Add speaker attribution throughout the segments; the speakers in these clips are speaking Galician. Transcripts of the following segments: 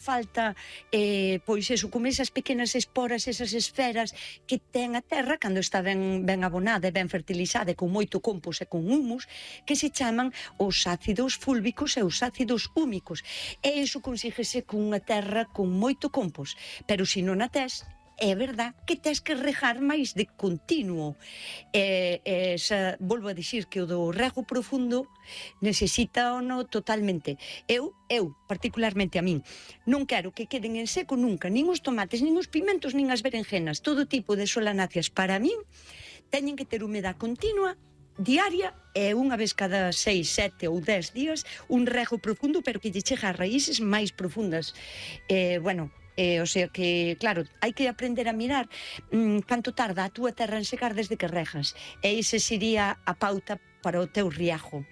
Speaker 1: falta pois eso, como esas pequenas esporas, esas esferas que ten a terra cando está ben abonada e ben fertilizada, con moito compost e con humus, que se chaman os ácidos fúlbicos e os ácidos húmicos. E iso consíguese cunha terra con moito compost, pero se non a tes, é verdad que tes que regar máis de continuo. Volvo a dicir que o do rego profundo necesita no totalmente. Eu, particularmente a min, non quero que queden en seco nunca, nin os tomates, nin os pimentos, nin as berenjenas. Todo tipo de solanáceas para min teñen que ter humedad continua, diaria, e unha vez cada 6, 7 ou 10 días un rego profundo, pero que lle chega a raíces máis profundas. O sea que, claro, hai que aprender a mirar canto tarda a túa terra en secar desde que regas. E ese sería a pauta para o teu riajo.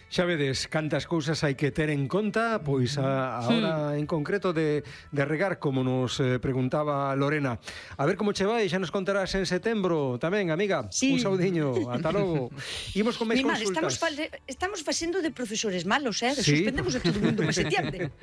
Speaker 2: Xa vedes cantas cousas hai que ter en conta, pois a hora en concreto de regar, como nos preguntaba Lorena. A ver como che vai, xa nos contarás en setembro tamén, amiga.
Speaker 1: Sí.
Speaker 2: Un saudiño, ata logo. Imos con máis consultas.
Speaker 1: Estamos facendo de profesores malos,
Speaker 2: Sí.
Speaker 1: Suspendemos a todo o mundo para setiembre.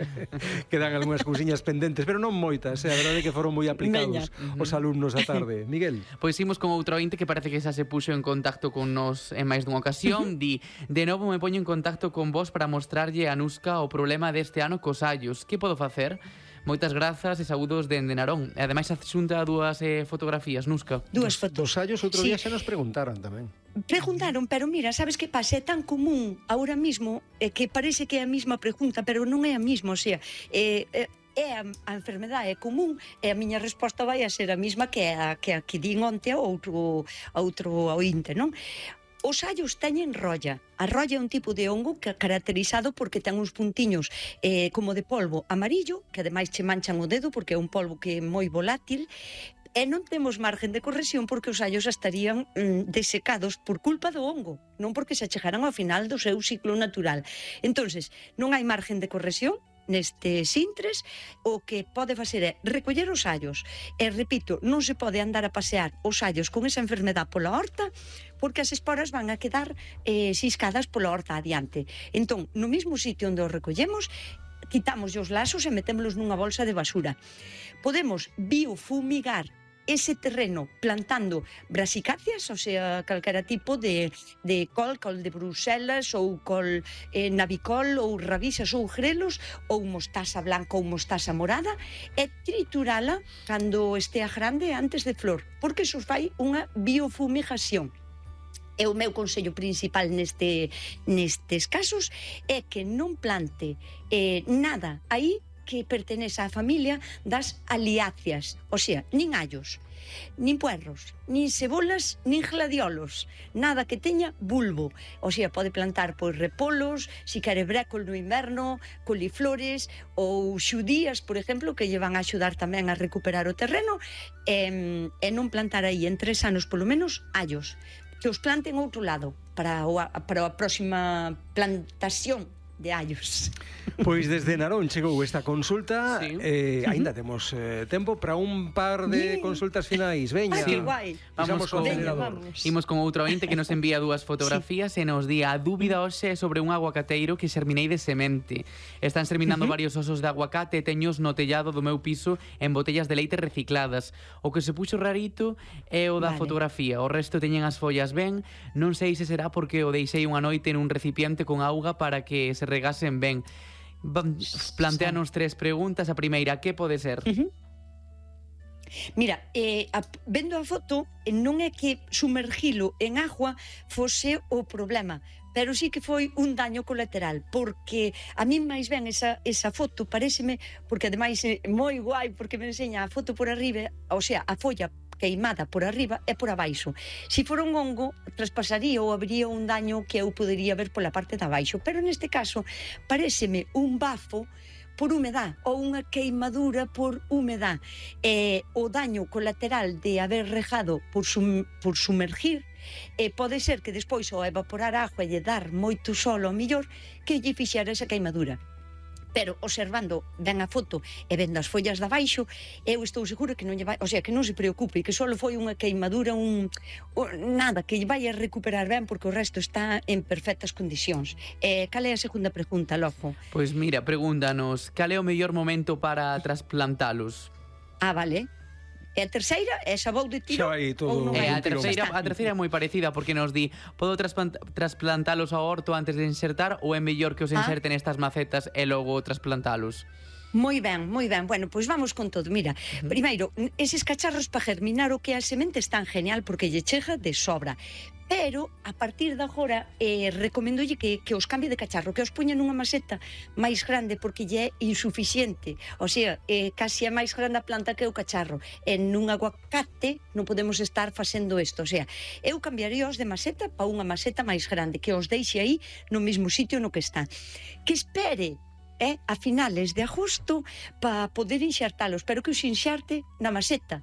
Speaker 2: Quedan algunhas cousiñas pendentes, pero non moitas, a verdade é que foron moi aplicados os alumnos a tarde. Miguel.
Speaker 3: Pois imos con outro ointe que parece que xa se puxo en contacto con nos en máis dunha ocasión. Di, de novo me poño en contacto con vos para mostrarlle a Nusca o problema deste ano cos allos. Que podo facer? Moitas grazas e saúdos dende Narón. E ademais xunta dúas fotografías, Nusca.
Speaker 1: Dúas fotos.
Speaker 2: Dos allos outro día xa nos preguntaron tamén.
Speaker 1: Preguntaron, pero mira, sabes que pasa? É tan común ahora mismo que parece que é a mesma pregunta, pero non é a mesma, o sea, a enfermedade é común e a miña resposta vai a ser a mesma que a que din onte a outro ointe, non? Os allos teñen rolla. A rolla é un tipo de hongo que é caracterizado porque ten uns puntiños como de polvo amarillo, que ademais che manchan o dedo porque é un polvo que é moi volátil, e non temos margen de corrección porque os allos estarían desecados por culpa do hongo, non porque se achegaran ao final do seu ciclo natural. Entonces, non hai margen de corrección nestes intres. O que pode facer é recoller os allos, e repito, non se pode andar a pasear os allos con esa enfermedade pola horta porque as esporas van a quedar ciscadas pola horta adiante. Entón, no mesmo sitio onde os recollemos, quitamos os lasos e metémolos nunha bolsa de basura. Podemos biofumigar ese terreno plantando brasicáceas, o sea, calquera tipo de col de Bruselas ou col navicol ou rabixas ou grelos ou mostaza blanca ou mostaza morada, e triturala cando estea grande antes de flor, porque iso fai unha biofumigación. E o meu consello principal nestes casos é que non plante nada aí que pertenece á familia das aliáceas, o sea, nin allos, nin puerros, nin cebolas, nin gladiolos, nada que teña bulbo. O sea, pode plantar pois repolos, si quere brécol no inverno, coliflores ou xudías, por exemplo, que lle van a axudar tamén a recuperar o terreno, e non plantar aí en 3 anos polo menos allos, que os planten outro lado para a próxima plantación de allos.
Speaker 2: Pois desde Narón chegou esta consulta.
Speaker 3: Sí.
Speaker 2: Aínda temos tempo para un par de consultas finais. Veña.
Speaker 1: Que guai.
Speaker 3: Vamos con Imos con outro ointe que nos envía dúas fotografías e nos di: a dúbida hoxe é sobre un aguacateiro que xerminei de semente. Están xerminando varios osos de aguacate e teños no tellado do meu piso en botellas de leite recicladas. O que se puxo rarito é o da fotografía. O resto teñen as follas ben. Non sei se será porque o deixei unha noite nun recipiente con auga para que se regasen ben. Planteanos 3 preguntas. A primeira, que pode ser?
Speaker 1: Mira, vendo a foto, non é que sumergilo en agua fose o problema, pero sí que foi un daño colateral, porque a mí máis ben esa foto paréceme, porque ademais é moi guai, porque me enseña a foto por arriba, o sea, a folla queimada por arriba e por abaixo. Se for un hongo, traspasaría ou habría un daño que eu podería ver pola parte de abaixo, pero neste caso paréceme un bafo por humedad ou unha queimadura por humedad. O daño colateral de haber regado por sumergir pode ser que despois ao evaporar agua e lle dar moito sol ao millor que lle fixera esa queimadura. pero observando ben a foto e vendo as follas de abaixo, eu estou segura que non lle vai, o sea, que non se preocupe, que só foi unha queimadura, nada, que lle vai a recuperar ben porque o resto está en perfectas condicións. Cal é a segunda pregunta, Lojo?
Speaker 3: Pois mira, pregúntanos, cal é o mellor momento para trasplantalos?
Speaker 1: Vale. E a terceira, esa vou de tiro?
Speaker 2: Xa vai todo.
Speaker 3: A terceira é moi parecida porque nos di, podo trasplantalos ao horto antes de insertar ou é mellor que os inserten estas macetas e logo trasplantalos?
Speaker 1: Moi ben, moi ben. Bueno, pois vamos con todo. Mira, primeiro, eses cacharros para germinar o que a semente están genial porque lle chega de sobra. Pero, a partir de agora, recomendolle que os cambie de cacharro, que os poña nunha maceta máis grande porque lle é insuficiente. O sea, casi é máis grande a planta que o cacharro. En un aguacate non podemos estar facendo isto. O sea, eu cambiaría os de maceta para unha maceta máis grande, que os deixe aí no mesmo sitio no que está. Que espere a finales de agosto para poder inxertalos, pero que os inxerte na maceta.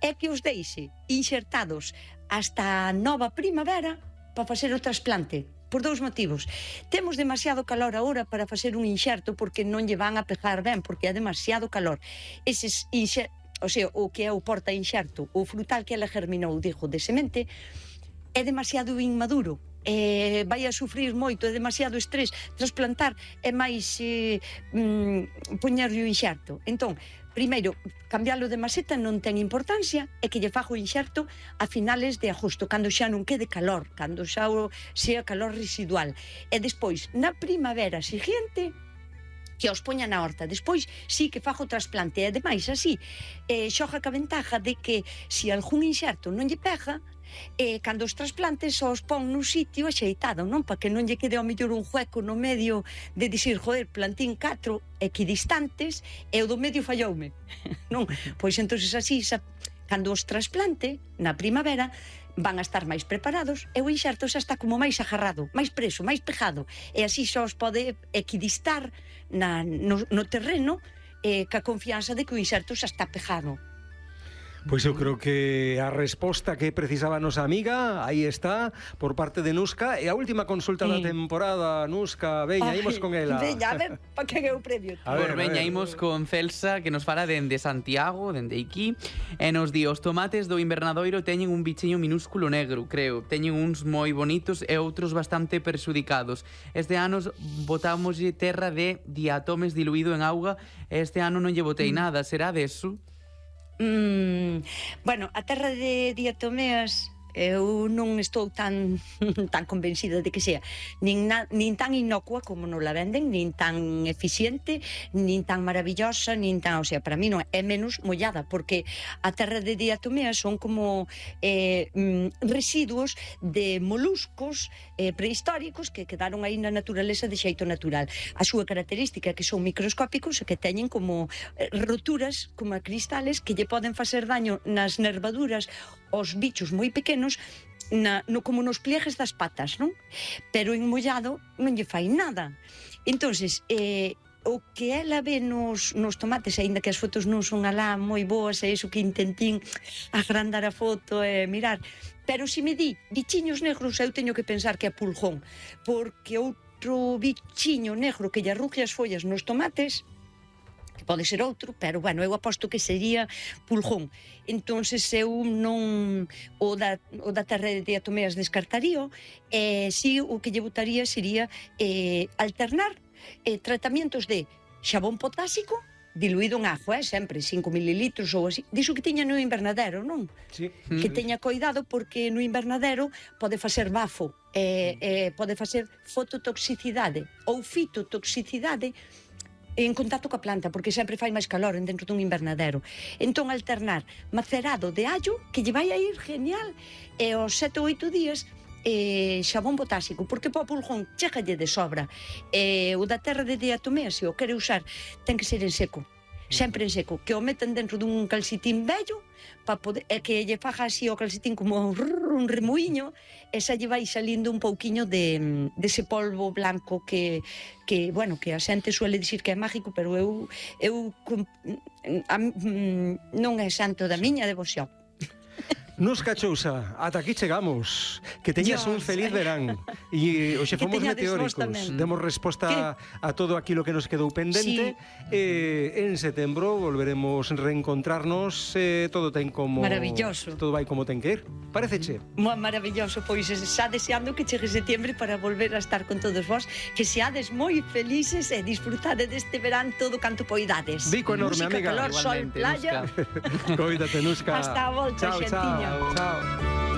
Speaker 1: É que os deixe inxertados hasta a nova primavera para facer o trasplante. Por dous motivos. Temos demasiado calor agora para facer un inxerto porque non lle van a pegar ben, porque é demasiado calor. Eses o sea, o que é o porta inxerto, o frutal que ela germinou, digo, de semente, é demasiado inmaduro. Vai a sufrir moito, é demasiado estrés. Trasplantar é máis poñerlle o inxerto. Entón, primeiro, cambiálo de maceta non ten importancia, é que lle fago o inxerto a finales de agosto, cando xa non quede calor, cando xa sea calor residual. E despois, na primavera seguinte, que os poña na horta. Despois, sí que fago o trasplante. E ademais, así, xoga ca ventaja de que se algún inxerto non lle pega, cando os trasplantes os pon nun sitio axeitado, non? Para que non lle quede ao mellor un hueco no medio de dicir, joder, plantín 4 equidistantes e o do medio falloume. Non? Pois entonces así, cando os trasplante na primavera, van a estar máis preparados e o inxerto xa está como máis agarrado, máis preso, máis pejado, e así xa os pode equidistar no terreno ca confianza de que o inxerto xa está pejado.
Speaker 2: Pois eu creo que a resposta que precisaba a nosa amiga aí está, por parte de Nuska. E a última consulta da temporada, Nuska, veña, imos con ela.
Speaker 1: Veña, a ver, pa que é o previo.
Speaker 3: Veña, imos con Celsa, que nos fala dende Santiago, dende aquí, e nos di, os tomates do invernadoiro teñen un bichiño minúsculo negro, creo. Teñen uns moi bonitos e outros bastante perxudicados. Este ano botámoslle terra de diatomes diluído en auga e este ano non lle botei nada. Será deso?
Speaker 1: Bueno, a terra de diatomeas eu non estou tan convencida de que sea nin tan inocua como nos la venden, nin tan eficiente, nin tan maravillosa, nin tan, o sea, para mí non é menos mollada, porque a terra de diatomeas son como residuos de moluscos prehistóricos que quedaron aí na naturaleza de xeito natural. A súa característica é que son microscópicos e que teñen como roturas, como cristales, que lle poden facer daño nas nervaduras aos bichos moi pequenos, como nos pliegues das patas, non? Pero en mollado non lle fai nada. Entonces, o que ela ve nos tomates, aínda que as fotos non son alá moi boas, é iso que intentín agrandar a foto e mirar, pero se me di bichiños negros, eu teño que pensar que é pulgón, porque outro bichiño negro que lle arrugue as follas nos tomates, que pode ser outro, pero, bueno, eu aposto que sería pulgón. Entonces eu non o da terra de diatomeas descartaría, si o que lle botaría sería alternar tratamientos de xabón potásico diluído en agua, sempre 5 mililitros ou así, diso que tiña no invernadero, non?
Speaker 2: Sí.
Speaker 1: Que teña coidado porque no invernadero pode facer bafo, pode facer fototoxicidade ou fitotoxicidade en contacto coa planta, porque sempre fai máis calor dentro dun invernadero. Entón, alternar macerado de allo, que lle vai a ir genial, e aos 7 ou 8 días xabón potásico, porque para o pulgón chegalle de sobra. O da terra de diatomea, se o quere usar, ten que ser en seco, sempre en seco, que o metan dentro dun calcetín vello, que lle faja así o calcetín como un remuiño, e xa lle vai salindo un pouquiño dese polvo blanco que a xente suele dicir que é mágico, pero eu non é santo da miña devoción.
Speaker 2: Nusca Chousa, ata aquí chegamos. Que teñas un feliz verán. E hoxe fomos meteóricos. Demos resposta a todo aquilo que nos quedou pendente. En setembro volveremos a reencontrarnos. Todo ten como...
Speaker 1: Maravilloso.
Speaker 2: Todo vai como ten que ir. Paréceche?
Speaker 1: Maravilloso, pois xa deseando que chegue setembro para volver a estar con todos vós, que seades moi felices e disfrutade deste verán todo canto poidades.
Speaker 2: Bico enorme,
Speaker 1: música,
Speaker 2: amiga.
Speaker 1: Calor, sol, playa.
Speaker 2: Coídate, Nusca.
Speaker 1: Hasta a volta, xentiña.
Speaker 2: Chao.